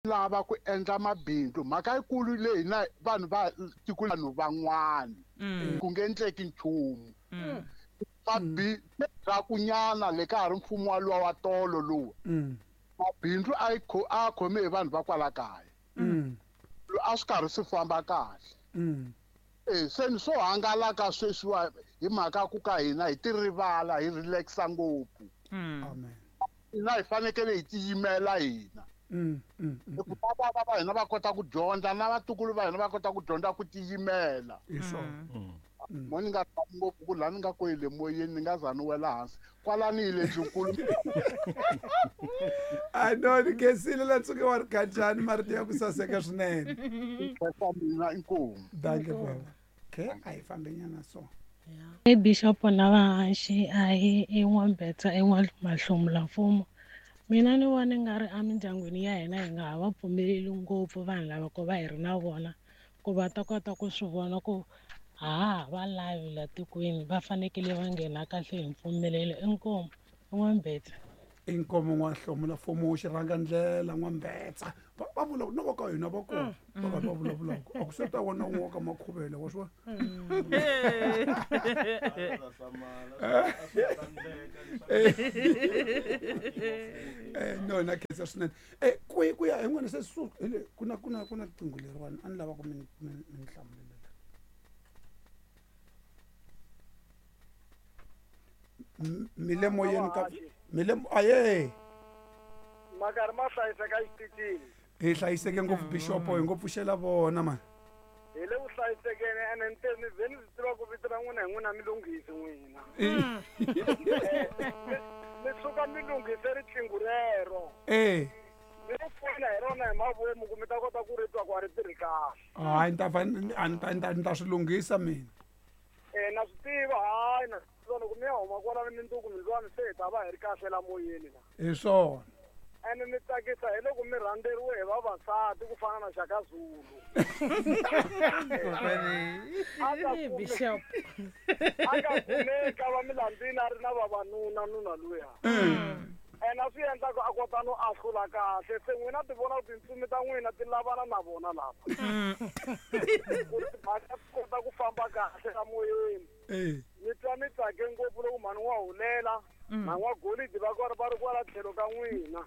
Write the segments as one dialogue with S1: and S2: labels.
S1: Lava ku endla mabindzu mhaka yikulu leyi na vanhu va tiko vanhu van'wana ku nge endleki nchumu. Mabindzu le ka ha ri mfumo wa luwa wa tolo luwa, mabindzu a yi a khome hi vanhu va kwala kaya, a swi karhi swi famba kahle. Se ni swo hangalaka sweswiwa hi mhaka ku ka hina hi ti rivala, hi relaxa ngopfu. Hina hi fanekele hi tiyimela hina. Ku va va hina va kota ku dyondza na vatukulu va hina va kota ku dyondza ku tiyimela. Mo ni nga tami ngopfu ku laha ni nga koyile moyeni ni nga za ni wela hansi kwalani hi le ndlunkulu.
S2: A no ni khensile la tsuke wa ri khanjani marito ya ku saseka swinene.
S1: Khensa mina, inkomu.
S2: Dankie baba. Okay, a hi fambe nyana so.
S3: I bishop na vahaxi a hi i n'wambetsa i n'wamahlomula mfumo. Mina ni vona nga ri emindyangwini ya hina hi nga ha va pfumeleli ngopfu vanhu lava ku va hi ri na vona, ku va ta kota ku swi vona ku ha va lavi la tikweni, va fanekele va nghena kahle hi mpfumelelo. Inkomu n'wambetsa.
S2: Inkomo n'wahlomula mfumo xirhanga ndlela n'wambetsa. Va vula no va ka hina va kona va karhi va vulavulaka a ku se ta wona un'we wa ka makhuvele wa swi vona. No na khensa swinene. Ku ya hi n'wina se hi le ku na ku na ku na riqingho leriwani a ni lava ku mi mi hlamulela. Mi le moyeni ka mi le aye.
S4: Makarhi ma hlayiseka exitichini.
S2: Hi hlayiseke ngopfu bishopo, hi ngo pfuxela vona mani.
S4: Hi le ku hlayisekeni ene ni te ni ze ni swi tiva ku vito ra n'wina hi n'wina mi lunghisi n'wina. Mi suka mi lunghise riqingho rero. Mi ri pfuna hi rona hi mavomu ku mi ta kota ku ri twa ku a ri tirhi kahle.
S2: Hayi ni ta fa ni ta swi lunghisa mina.
S4: Na swi tiva, hayi na swi tiva loko mi ya huma kwala ni mindzuku mindlwani se hi ta va hi ri kahle la moyeni la.
S2: Hi swona.
S4: Ene mi tsakisa hi loko mi rhandzeriwe hi vavasati ku fana na Shaka Zulu.
S3: Bishop.
S4: A nga kumeki a va milandzini a ri na vavanuna nuna luya. Ene a swi endla ku a kota no ahlula kahle. Se n'wina ti vona ku tintsumi ta n'wina ti lavana na vona lava. Ku ri timhaka ti kota ku famba kahle la moyeni. Mi twa mi tsake ngopfu loko mhani wa hulela na n'wa golidi va karhi va ri kwala tlhelo ka n'wina.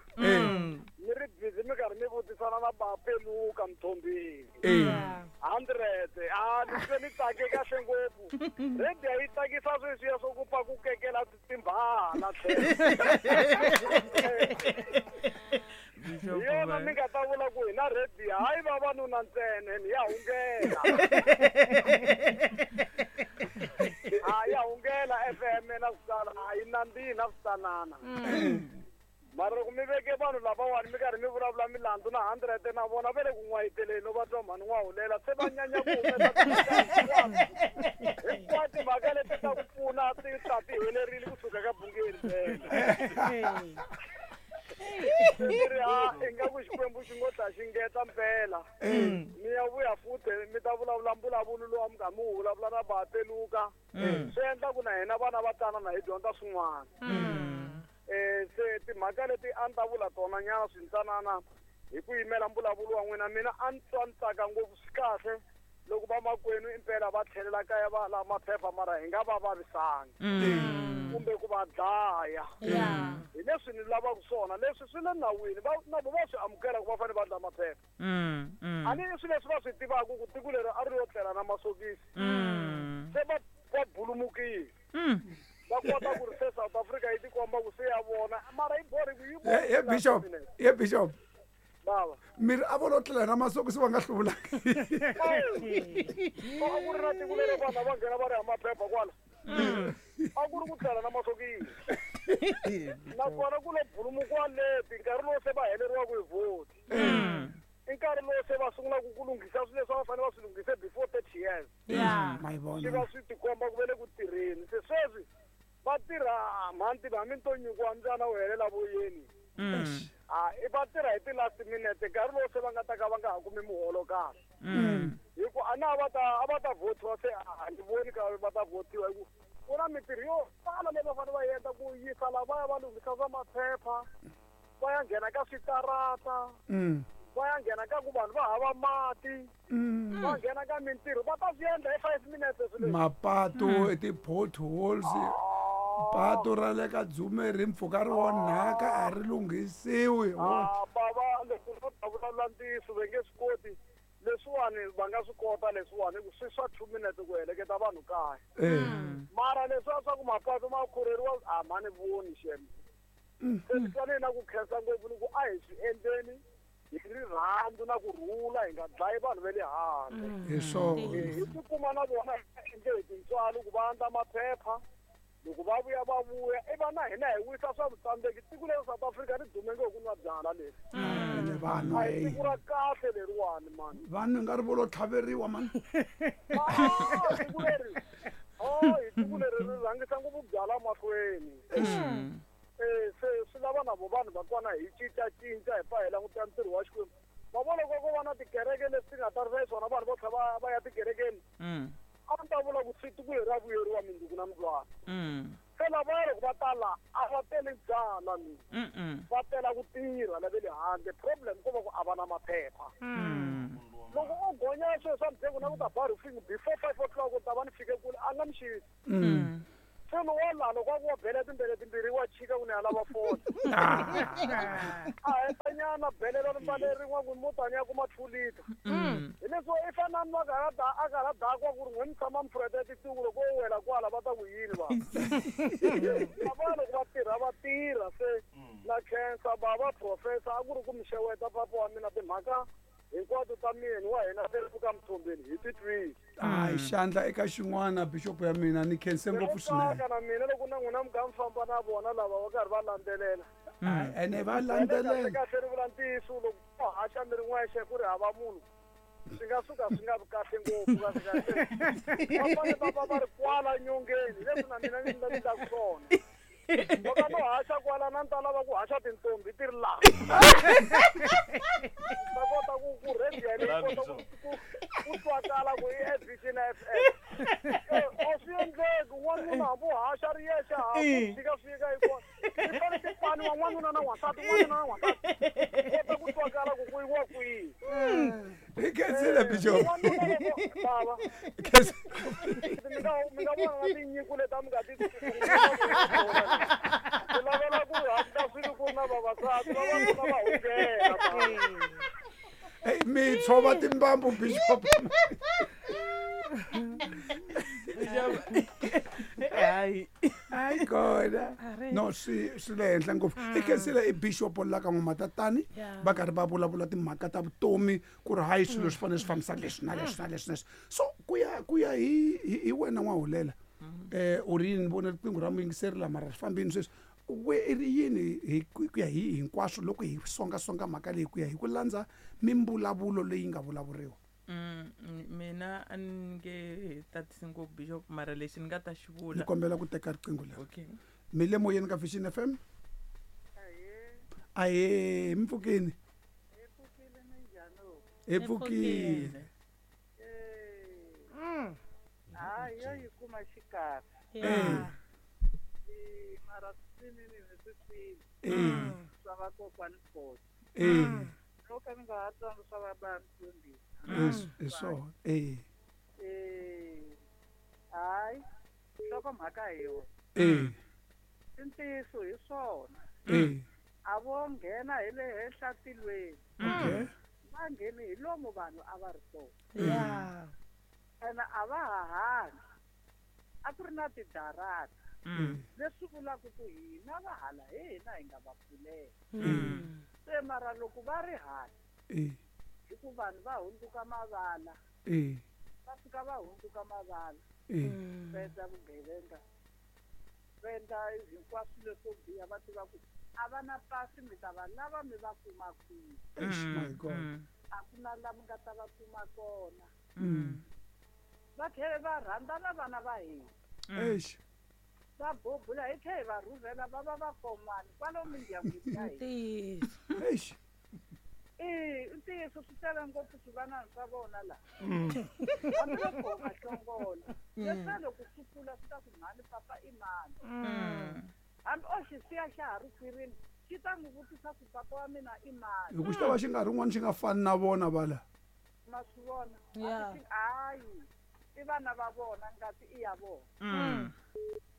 S4: Mi ri busy mi karhi mi vutisana na Bapeluka Mthombeni. 100. A ni twe ni tsake kahle ngopfu. Radio yi tsakisa sweswiya swo ku pfa ku kekela timbhala tlhelo. Hi yona mi nga ta vula ku hina radio hayi vavanuna ntsena ni ya hungela. A ya hungela FM na switana a yi nandzihi na switanana. Mara loko mi veke vanhu lavawani mi karhi mi vulavula milandzu na 100 na vona va le ku n'wayiteleni no va twa mhani n'wa hulela se va nyanya ku humesa hinkwato timhaka leti ta ku pfuna ti ta ti helerile kusuka ka bungeni ntsena. Ni ri ha ingaku Xikwembu xi ngo ta xi ngeta mpela. Mi ya vuya futhi mi ta vulavula mbulavulo lowu mi kha mi wu vulavula na Bapeluka. Swi endla ku na hina vana va tana na hi dyondza swin'wana. Se timhaka leti a ni ta vula tona nyana swintsanana hi ku yimela mbulavulo wa n'wina, mina a ni twa ni tsaka ngopfu. Swi kahle loko vamakwenu impela va tlhelela kaya va lava maphepha mara hi nga va vavisangi kumbe ku va dlaya. Hi leswi ni lavaka swona, leswi swi le nawini, va na vo va swi amukela ku va fanele va dlaya maphepha. A ni i swilo leswi va swi tivaka ku tiko leri a ri yo tlela na masokisi. Se va bulumukile. Va kota ku ri se South Africa yi tikomba ku se ya vona mara yi borhi ku yi
S2: He Bishop, he Bishop.
S4: Baba.
S2: Miri a vo lo tlela na masokisi va nga hluvulanga.
S4: A ku ri na tiko leri vanhu va nghena va ri ha maphepha kwala. A ku ri ku tlela na masokisi. Nakona ku lo bulumukiwa leti nkarhi lowu se va heleriwaka hi vhoti. I nkarhi lowu se va sungulaka ku lunghisa swilo leswi a va fanele va swi lunghise before 30 years. Swi va swi tikomba ku ve le ku tirheni. Se sweswi va tirha mhanti va mi to nyikiwa mbyana wu helela voyeni. A i va tirha hi ti last minute nkarhi lowu se va nga ta ka va nga ha kumi muholo kahle. Hi ku a na va ta a va ta votiwa se a ni voni ka va ta votiwa hi ku ku na mintirho yo tala leyi va fanele va endla ku yisa lavaya va lunghisa swa maphepha, va ya nghena ka switarata, va ya nghena ka ku vanhu va hava mati va nghena ka mintirho va ta swi endla hi 5 minutes swilo
S2: mapatu ti-potholes patu ra le ka Dzume ri mpfhuka ri onhaka a ri lunghisiwi
S4: bava loko vo ta vulavula ntiyiso va nge swi koti leswiwani va nga swi kota leswiwani ku swi swa 2 minutes ku heleketa vanhu kaya mara leswiya swa ku mapatu ma khurheriwa a ma ni voni xem se ni twa na ku khensa ngopfu ni ku a hi swi endleni hi rirhandzu na ku rhula hi nga dlayi vanhu va le handle
S2: hi swona
S4: hi tikuma na vona hi endle hi tintswalo ku va andla maphepha loko va vuya i va na hina hi wisa swa vutsandzeki tiko leri South Africa ri dume ngopfu ku nwa byala leri
S2: ene vanhu
S4: a hi tiko ra kahle leriwani mani
S2: vanhu nga ri vo lo tlhaveriwa mani
S4: tiko leri hi tiko leri ri rhangisa ngopfu byala mahlweni se swi lava na vo vanhu va kona hi cincacinca hi pfa hi languta ntirho wa Xikwembu ma vona loko ko va na tikereke leswi ti nga tarisa hi swona vanhu vo tlha va ya tikerekeni a ni ta vula ku tiko leri ra vuyeriwa minduku na mundlwana se lavaya loko va tala a va teli byala ni va tela ku tirha lava le handle problem ko va ku a va na maphepha loko o gonya swilo swa mudzengo na ku ta ba roofing before 5 o'clock u ta va ni fike kule a nga mi xisi se lowa laha loko a ku wa bele timbele timbirhi wa chika ku ni ya lava foni a hetanyana belela rimbale rin'we ku mutani ya kuma 2 liter hi leswi i fana ni a karha dakwa ku ri n'we mi tshama mi pfureta tituku loko o wela kwala va ta ku yini vanhu lava loko va tirha va tirha se na khensa bava professor a ku ri ku mi xeweta papa wa mina timhaka hinkwato ta mina wa hina ka Mthombeni hi titwile
S2: hayi xandla eka xin'wana bishop ya mina ni khense ngopfu swinene
S4: na mina loko na n'wina mi nga mi famba na vona lava va karhi va landzelela
S2: ene va landzelela
S4: kahle ri vula ntiyiso loko ko haxa mi ri n'wexe ku ri hava munhu swi nga suka swi nga vi kahle ngopfu kahle kahle va fanele va va ri kwala nyongeni leswi na mina ni ndlaku swona loko no haxa kwala na ni ta lava ku haxa tintombi ti ri laha ta kota ku radio yaleyi kota ku twakala ku i SBC na FM a swi endleki n'wanuna hambi u haxa ri yexe hambi tshika swi yika yi kona ti fanele ti paniwa n'wanuna na n'wansati n'wanuna na n'wansati kota ku twakala ku ku yiwa kwihi
S2: hi khensile bishop
S4: bava mi nga vona na tinyiko leti a mi nga ti ku lavela ku hatla swilo ku na vavasati vavanuna va hungela
S2: mi tshova timbambu bishop hayi kona no swi le henhla ngopfu i khensile i bishop la ka N'wa-Matatani va karhi va vulavula timhaka ta vutomi ku ri hayi swilo swi fanele swi fambisa leswi na leswi na leswi na leswi so ku ya hi wena N'wahulela u ri yini ni vona riqingho ra muyingiseri lama ra ri fambini sweswi we i ri yini hi ku ya hi hinkwaswo loko hi songasonga mhaka leyi ku ya hi ku landza mimbulavulo leyi nga vulavuriwa
S5: mina a ni nge tatisi ngopfu bishop mara lexi ni nga ta xi vula
S2: ni kombela ku teka riqingho leri
S5: okay
S2: mi le moyeni ka Vision FM ahee mi pfukini hi pfukile
S6: hayi yo yi kuma xikarhi mara swinene ni swi twile swa vakokwani Khosa no ka ni nga ha twangi swa va mfundhisi
S2: hi swona
S6: hayi nhlokomhaka hi yona i ntiyiso hi swona a vo nghena hi le henhla tilweni va ngheni hi lomu vanhu a va ri kona ene a va ha hanyi a ku ri na tidarata leswi vulaka ku hina va hala hi hina hi nga va pfulela se mara loko va ri hala hi ku vanhu va hundzuka mavala va fika va hundzuka mavala va endla vugevenga va endla hinkwaswo leswo biha va tiva ku a va na pasi mi ta va lava mi va kuma kwihi a ku na la mi nga ta va kuma kona va tlhela va rhandzana vana va hina va bobula hi tlhela hi va rhurhela va va vakon'wana kwalomu mindyangwini ya hina i ntiyiso swi tele ngopfu swivanani swa vona laha hambiloko u nga hlongola leswiya loko swi kula swi ta ku mhani papa i mani hambi o xi siya xa ha ri khwirini Xi ta n'wi vutisa ku papa wa mina i mani.
S2: Hi ku xi ta va xi nga ri un'wana xi nga fani na vona vala.
S6: Ma swi vona? Hayi, i vana va vona, ngati i ya vona.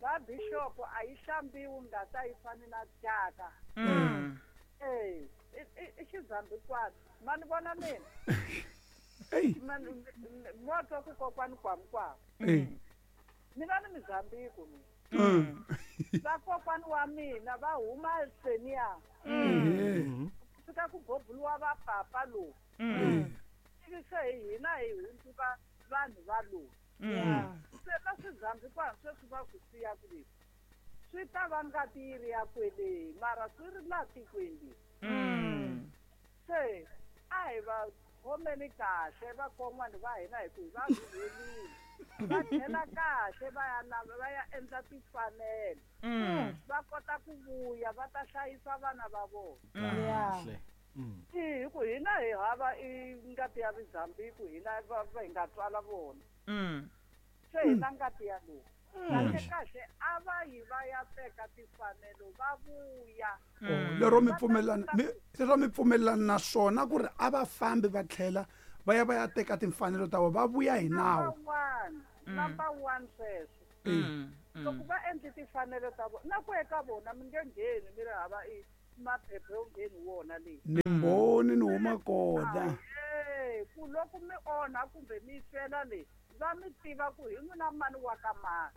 S6: Va bishop a yi hlambiwi ngati a yi fani na thyaka. I xizambikwana. Ma ni vona mina? Mo twa ku kokwani kwamukwamu. Mina ni Mozambique mina. Vakokwani wa mina va huma Seniya. Fika ku bobuliwa va papa lowu. Ivi se hina hi hundzuka vanhu va lowu. Se va swizambikwana sweswi va ku siya ku leswi. Swi ta va ngati yi ri ya kwele mara swi ri laha tikweni. Se a hi va khomeni kahle vakon'wana va hina hi ku hi va rhurhelile. Va tlhela kahle va ya lava va ya endla timfanelo. Va kota ku vuya va ta hlayisa vana va vona.
S7: Kahle.
S6: Hi ku hina hi hava i ngati ya Mozambique hina va hi nga tswala vona. Se hina ngati ya lowu. Kahle kahle a va yi va ya teka timfanelo va vuya.
S2: Lero mi pfumelana lero mi pfumelana na swona ku ri a va fambi va tlhela va ya va ya teka timfanelo ta vona va vuya hi nawu.
S6: Number one sweswo. Loko va endle timfanelo ta vona na ku eka vona mi nge ngheni mi ri hava i maphepha yo ngheni wona leyi.
S2: Ni mbhoni ni huma kona.
S6: Ku loko mi onha kumbe mi fela leyi va mi tiva ku hi n'wina mani wa ka mani.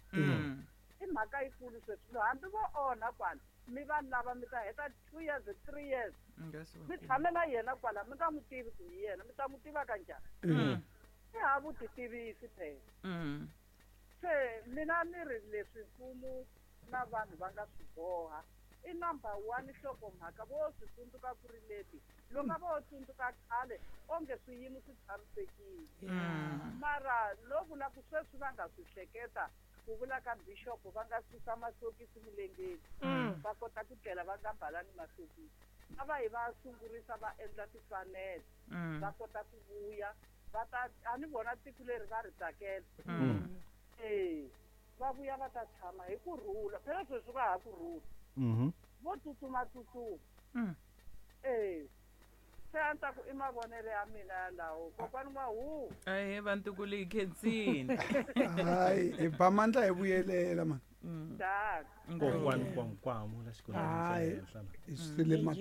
S6: I mhaka yikulu sweswi hambi vo onha kwala mi va lava mi ta heta 2 years 3 years mi tshame na yena kwala mi nga n'wi tivi ku hi yena mi ta n'wi tiva kanjhani. I ha vutitivisi phela. Se mina ni ri leswi mfumo na vanhu va nga swi boha i number 1 nhlokomhaka vo swi tsundzuka ku ri leti loko vo tsundzuka khale onge swiyimo swi tshamisekile. Mara lo vula ku sweswi va nga swi hleketa ku vula ka bishop va nga susa masokisi milengeni va kota ku tlela va nga mbalani masokisi. A va yi va sungurisa va endla timfanelo va kota ku vuya va ta a ni vona tiko leri va ri tsakela. Va vuya va ta tshama hi ku rhula phela sweswi va ha ku rhula. Vo tsutsuma tsutsuma. Se a ni ta ku i mavonelo ya mina yalawo kokwani wa hu.
S5: Ahe vantukulu hi khensini.
S2: Hayi hi ba mandla hi vuyelela mani.
S7: Kokwani kwamukwamu la xikolweni xa henhla.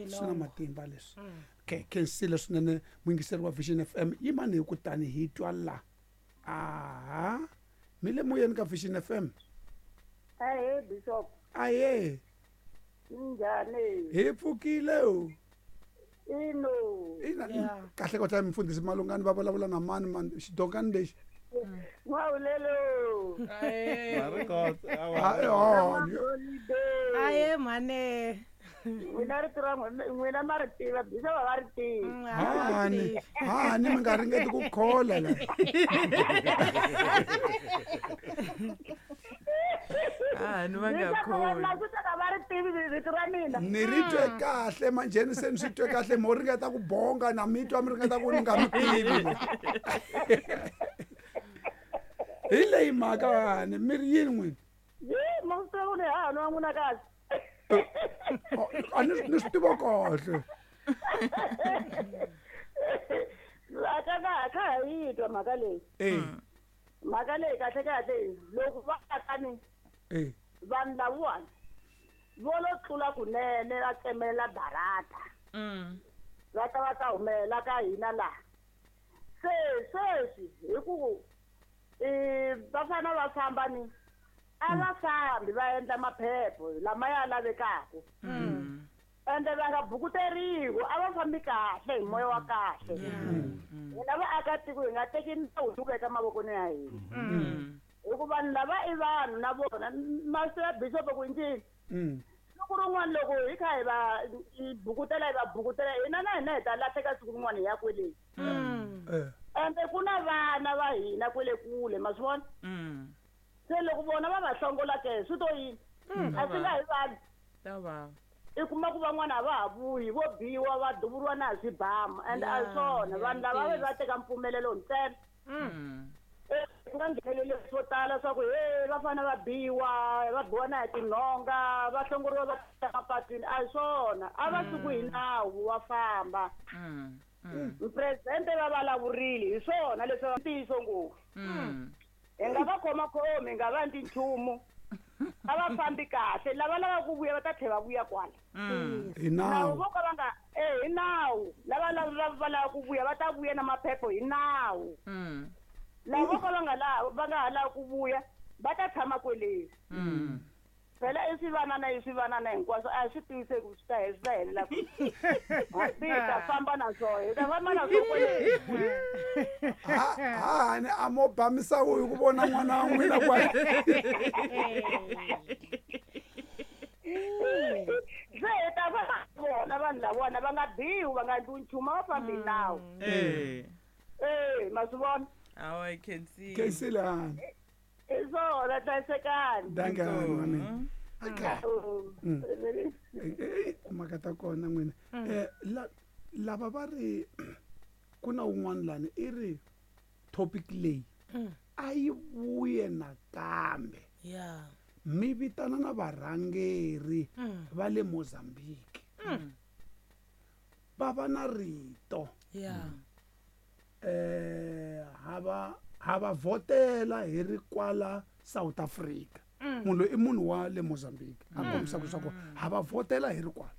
S2: Swi na matimba leswi. Okay, khensile swinene muyingiseri wa Vision FM yimani hi ku tani hi twa la. Aha. Mi le moyeni ka Vision FM.
S6: Ahe bishop.
S2: Ahe.
S6: Njhani?
S2: Hi pfukile o.
S6: Ino.
S2: Ina kahle ko tla mfundhisi Malungani va vulavula na mani mani xidokani lexi.
S6: N'wawulelo.
S3: Aye mane.
S6: N'wina rito ra n'wina ma ri tiva bishop va ri tivi.
S2: Hani hani mi nga ringeti ku khola la.
S5: Ni va nga kholi.
S2: Ni ri twe kahle manjheni se ni swi twe kahle mo ringeta ku bonga na mi twa mi ringeta ku ni nga mi tivi. Hi leyi mhaka hani mi ri yini n'wina?
S6: Ma swi tiva ku ni hahani wa n'wina kahle.
S2: A ni swi tiva kahle.
S6: Kha ha yi twa mhaka leyi. Mhaka leyi kahle kahle loko va akani vanhu lavawani vo lo tlula kunene va tsemelela darata. Va ta va ta humelela ka hina laha. Se sweswi hi ku va fana va famba ni a va fambi va endla maphepho lama ya lavekaka. Ende va nga bukuteriwi a va fambi kahle hi moya wa kahle. Hina vaakatiko hi nga teki nawu hi wu veka mavokweni ya hina. Hikuva vanhu lava i vanhu na vona masi ya bishop ku njhini. Siku rin'wana loko hi kha hi va bukutela hi va bukutela hina na hina hi ta lahleka siku rin'wana hi ya kweleni. Ende ku na vana va hina kwele kule ma swi vona. Se loko vona va va hlongola ke swi to yini? A swi nga hi vanhu. I kuma ku van'wana a va ha vuyi vo biwa va duvuriwa na hi swibamu and a hi swona vanhu lava va va teka mpfumelelo ntsena. Ku nga ngheneleli swo tala swa ku he va fanele va biwa, va biwa na hi tinhonga, va hlongoriwa va ta mapatwini, a hi swona. A va suki hi nawu va famba. Mupresidente va vulavurile hi swona leswi va ntiyiso ngopfu. Hi nga va khomakhomi, hi nga va endli nchumu. A va fambi kahle, lava lavaka ku vuya va ta tlhela va vuya kwala.
S2: Hi nawu.
S6: Vo ka va nga hi nawu. Lava va lavaka ku vuya va ta vuya na maphepha hi nawu. Lava vo ka va nga va nga ha lavi ku vuya va ta tshama kweleni. Phela i swivanana i swivanana hinkwaswo a swi tiviseki ku swi ta swi ta helela kwihi. Hi ta famba na swona, hi ta famba na swona kweleni.
S2: Hahani a mo ba misawu hi ku vona n'wana wa n'wina kwala.
S6: Se hi ta va vona vanhu lavona va nga biwi, va nga endliwi nchumu, a va fambi hi nawu. Ma swi vona?
S5: Awa, I can see.
S2: Khensile hani.
S6: Hi swona, hlayisekani.
S2: Dankie hani wa mina. Okay. Mhaka ta kona n'wina. Lava va ri ku na un'wana lani i ri topic leyi a yi vuye nakambe. Mi vitana na varhangeri va le Mozambique. Va va na rito. Hava vhotela hi ri kwala South Africa. Munhu loyi i munhu wa le Mozambique. A kombisa leswaku hava vhotela hi ri kwala.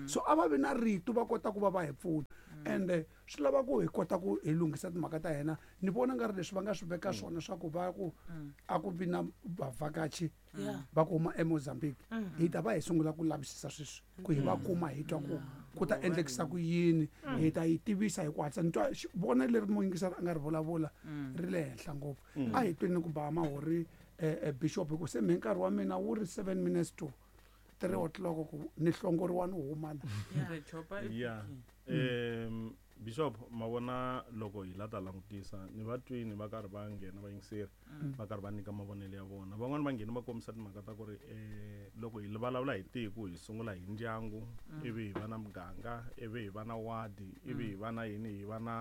S2: So a va vi na rito va kota ku va va hi pfuna. And swi lava ku hi kota ku hi lunghisa timhaka ta hina. Ni vona nga ri leswi va nga swi veka swona swa ku va ku a ku vi na vavhakachi va ku huma eMozambique. Hi ta va hi sungula ku lavisisa sweswi ku hi va kuma hi twa ku ku ta endlekisa ku yini, hi ta yi tivisa hi ku hatlisa. Ni twa vona leri muyingiseri a nga ri vulavula ri le henhla ngopfu. A hi tweni ku ba mahori bishop hi ku se mi nkarhi wa mina wu ri 7 minutes to 3 o'clock ku ni hlongoriwa ni huma la.
S7: Bishop, ma vona loko hi la ta langutisa ni va twini va karhi va nghena va yingiseri va karhi va nyika mavonelo ya vona. Van'wani va nghena va kombisa timhaka ta ku ri loko hi vulavula hi tiko hi sungula hi ndyangu, ivi hi va na muganga, ivi hi va na wadi, ivi hi va na yini, hi va na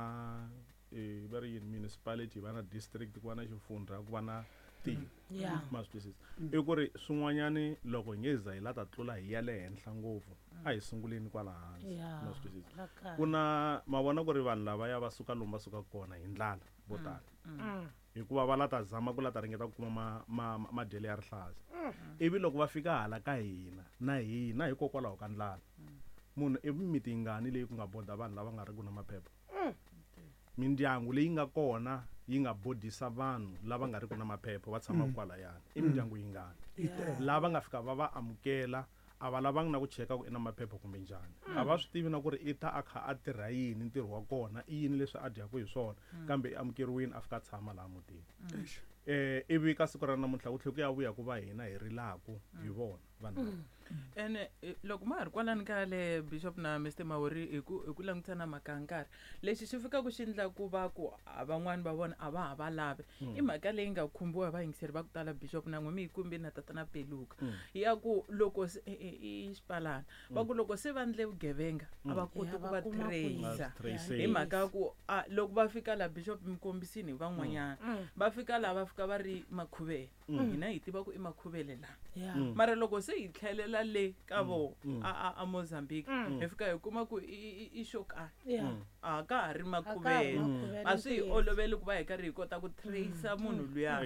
S7: va ri yini municipality, hi va na district, ku va na xifundza, ku va na tiko. Ma swi twisisa? I ku ri swin'wanyani loko hi nge za hi la ta tlula hi ya le henhla ngopfu, a hi sunguleni kwala hansi. Ma swi twisisa? Ku na ma vona ku ri vanhu lavaya va suka lomu va suka kona hi ndlala vo tala. Hikuva va la ta zama ku la ta ringeta ku kuma madyelo ya rihlaza. Ivi loko va fika hala ka hina na hina hikokwalaho ka ndlala, munhu i mimiti yingani leyi ku nga boda vanhu lava nga ri ku na maphepha? Mindyangu leyi nga kona yi nga bodisa vanhu lava nga ri ku na maphepha va tshama kwalayani. I mindyangu yingani lava nga fika va va amukela, a va lavangi na ku cheka ku i na maphepha kumbe njhani. A va swi tivi na ku ri i ta a kha a tirha yini, ntirho wa kona i yini leswi a dyaka hi swona, kambe i amukeriwile a fika a tshama laha mutini. Ivi ka siku ra namuntlha ku tlhela ku ya vuya ku va hina hi rilaku hi vona vanhu lava.
S5: Ene loko ma ha ri kwalani ka le Bishop na Mr Mahori hi ku langutisa na mhaka ya nkarhi, lexi xi fikaka xi endla ku va ku van'wani va vona a va ha va lavi i mhaka leyi nga khumbiwa hi vayingiseri va ku tala Bishop na n'we mi yi kumbile na tatana Peluka ya ku loko se i xipalana va ku loko se va endle vugevenga a va koti ku va tracer hi mhaka ya ku loko va fika la Bishop mi kombisini hi van'wanyana va fika la va fika va ri makhuvele. Hina hi tiva ku i makhuvele la. Mara loko se hi tlhelela le ka vo a Mozambique hi fika hi kuma ku i xokani. A ka ha ri makhuvele. A swi hi oloveli ku va hi karhi hi kota ku tracer munhu luya.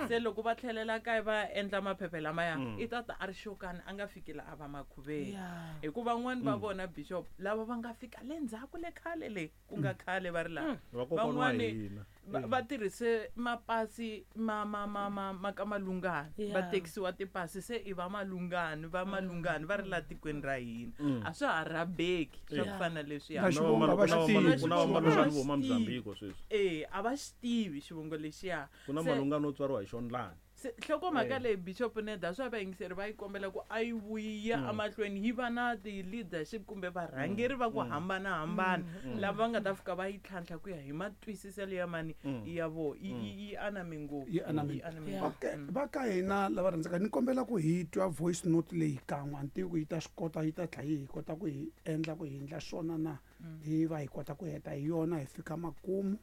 S5: Se loko va tlhelela kaya va endla maphepha lamaya i ta ta a ri xokani a nga fiki la a va makhuvele. Hikuva van'wani va vona Bishop lava va nga fika le ndzhaku le khale le ku nga khale va ri laha. Van'wani va tirhise mapasi ma ka malungani, va tekisiwa tipasi se i va malungani, va malungani va ri la tikweni ra hina. A swa ha rhabeki swa ku fana leswiya.
S2: Na xivongo va xi tivi.
S7: Ku na malungani vo huma Mozambique sweswi.
S5: A va xi tivi xivongo lexiya.
S7: Ku na malungani wo tswariwa hi Xondlani.
S5: Nhlokomhaka leyi Bishop Neda swa vayingiseri va yi kombela ku a yi vuya emahlweni yi va na ti-leadership kumbe varhangeri va ku hambanahambana lava va nga ta fika va yi tlhantlha ku ya hi matwisiselo ya mani ya vo yi aname ngopfu.
S2: Yi aname. Okay, va ka hina lava rhandzaka ni kombela ku hi twa voice note leyi kan'we, a ni tivi ku yi ta swi kota, yi ta tlhela yi hi kota ku hi endla ku hi endla swona na hi va hi kota ku heta hi yona hi fika makumu.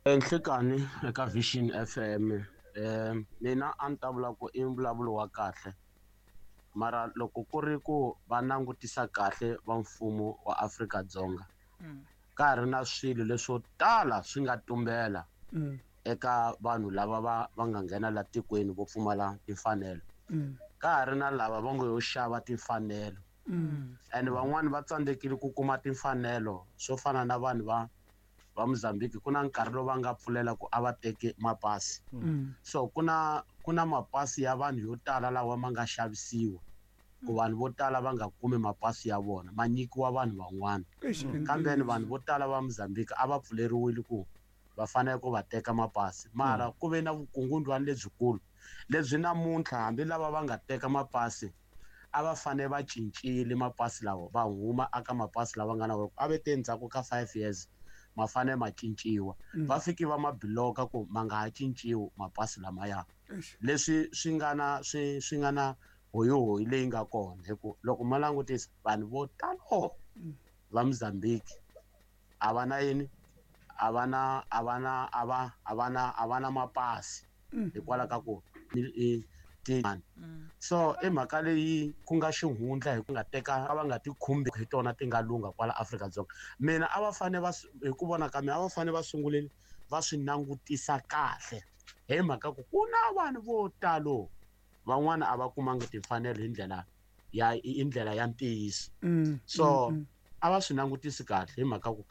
S8: Enhlekani eka Vision FM mina a ni ta vula ku i mbulavulo wa kahle mara loko ku ri ku va langutisa kahle va mfumo wa Afrika-Dzonga ka ha ri na swilo leswo tala swi nga tumbela eka vanhu lava va nga nghena la tikweni vo pfumala timfanelo. Ka ha ri na lava va ngo yo xava timfanelo and van'wani va tsandzekile ku kuma timfanelo swo fana na vanhu va Mozambique. Ku na nkarhi lowu va nga pfulela ku a va teki mapasi. So ku na mapasi ya vanhu yo tala lawa ma nga xavisiwa ku vanhu vo tala va nga kumi mapasi ya vona, ma nyikiwa vanhu van'wana. Kambe vanhu vo tala va Mozambique a va pfuleriwile ku va fanele ku va teka mapasi, mara ku ve na vukungundwani lebyikulu lebyi namuntlha hambi lava va nga teka mapasi a va fanele va cincile mapasi lawa, va huma aka mapasi lawa nga na wona a ve te ndzhaku ka 5 years ma fanele ma cinciwa. Va fiki va ma bloka ku ma nga ha cinciwi mapasi lamaya. Leswi swi nga na swi nga na hoyihoyi leyi nga kona, hi ku loko ma langutisa vanhu vo talo va Mozambique a va na yini, a va na a va na a va a va na a va na mapasi hikwalaho ka ku so i mhaka leyi ku nga xihundla hi ku nga teka va nga ti khumbi hi tona ti nga lungha kwala Afrika-Dzonga. Mina a va fanele va hi ku vona ka mina a va fanele va sungulile va swi langutisa kahle hi mhaka ku ku na vanhu vo talo van'wana a va kumanga timfanelo hi ndlela ya i ndlela ya ntiyiso. So a va swi langutisi kahle hi mhaka ku